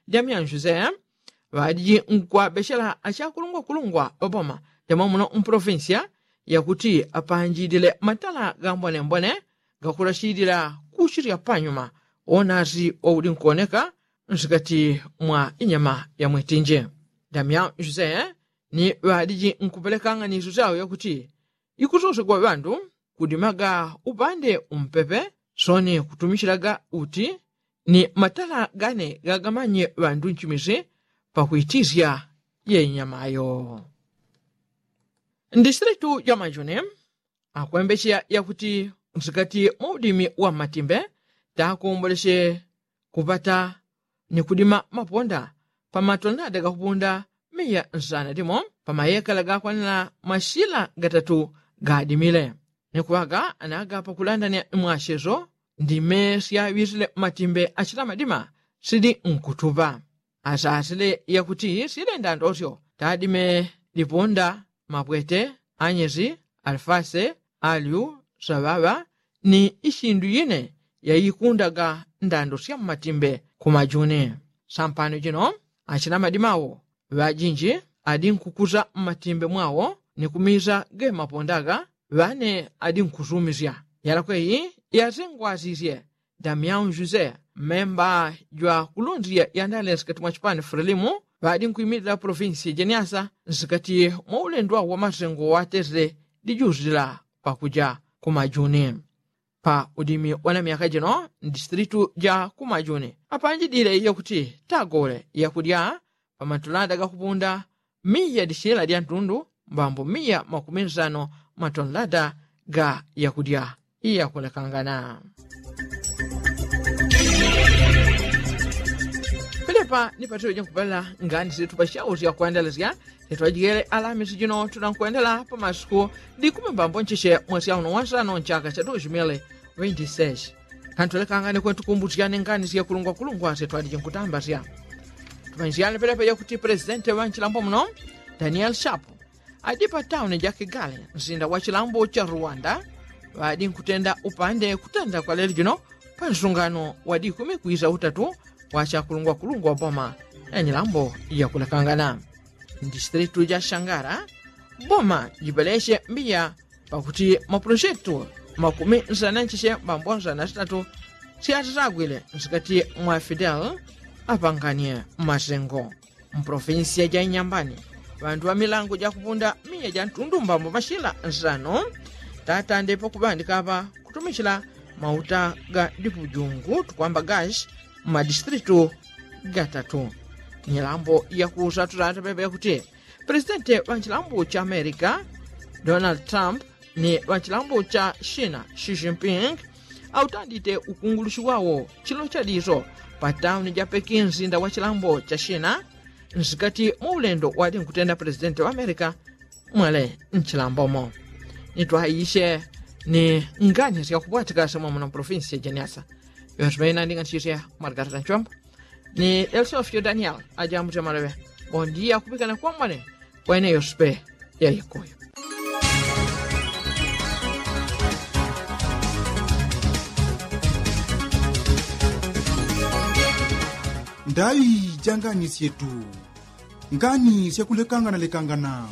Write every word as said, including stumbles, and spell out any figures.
damyanjuze ŵadiji nkwabechela achakulungwakulungwa ŵaboma damamuno mpolofinsiya yakuti apanjilile matala gambonembone gakulachilila kuchilya panyuma wonasi waudi nkuwoneka nsikati mwa inyama ya mwitinji. Damyanjuze ni ŵadiji nkupelekanga ni isu syao yakuti ikusosegwa ŵandu kudimaga upande umpepe soni kutumichilaga uti ni matala gane gagamanye ŵandu nchimisi pakuitisya yeinyamayo. Ndisilitu jamajuni akwembecheya yakuti nsikati mwaudimi wa mmatimbe takomboleche kupata ni kudima maponda pamatonada gakupunda miya nsana dimo pamayekala gakwanila mashila gatatu gadimile ni kuŵaga anaga pakulandanya mwachezo ndime syaŵisile mmatimbe achila madima sili nkutupa asasile yakuti sile ndandosyo tadime lipunda mapwete anyezi alifase alyu saŵaŵa ni ishindu yine yaikundaga ndando sya mmatimbe kumajuni. Sampano jino achina madima wo ŵajinji adi nkukuza mmatimbe mwawo ni kumiza gemapondaga ŵane adi nkusumisya yalakweyi yazengwasisye damyau juse mmemba jwakulunzya yandale nsikati mwa chipani frelimu ŵadi nkwimilila polofinsi jeniasa nsikati mwa ulendo wao wamasengo watesile dijuzila pakuja kumajuni. Pa udimi wana myaka jino ndisitilitu ja kumajuni apanjidile yakuti tagole yakudya pamatulada gakupunda miya dishila dya ntundu mbambo miya makumi nsano matonlada ga yakudya iyakulekangana. Pelepa ni patilo jankupela ngani sili tupashau syakwendela sya sitwajigele alamisi jino tunankwendela pamasiku dikumi mbambo ncheche mwesi auno wansano nchaka cha dos mil vinti seis. Kantwelekanga ni kwentu kumbusyane ngani syakulungwakulungwa sitwaliji nkutambasya. Tumanyisyane pelepa yakuti pulesitenti wa nchilambo muno daniel shapu adi pa tauni ja kigali nsinda wa chilambo cha rwanda ŵadi nkutenda upande kutenda kwa lelo jino pa nsungano wa dikumi kwisa utatu wa chakulungwakulungwa boma ya nyilambo yakulekangana. Ndisitilitu ja shangara boma jipeleche mbiya pakuti mapulojetu makumi nsana ncheche mbambo nsana sitatu syatitagwile nsikati mwa fidel apanganye masengo. Mpolofinsiya ja inyambani ŵantu ŵa milango jakupunda miya ja ntundu mbambo mashila nsano tatande pakuŵandika apa kutumichila mauta ga dipujungu tukwamba gashi mmadisitilitu gatatu. Nyilambo yakusa tutata pepe yakuti pulesitenti ŵa nchilambo cha amerika donald trump ni ŵa nchilambo cha shina xi jinping autandite ukungulushi wawo chilo cha diso pa tauni ja peki nsinda wa chilambo cha shina nsikati mwa ulendo wadi nkutenda pulesitenti wa amerika mwele nchilambomo. Nitwaishe ni ngani syakupwatika semwa muno mpolofinsi ya jeniasa yonse maina ndinganisisye mwarikatata nchombo ni delsofio daniel ajambuti amaloŵe. Bondiya kupikana kwamwane kwene yospe ya yekuyu. Ndaŵi ja ngani syetu ngani syakulekangana lekangana.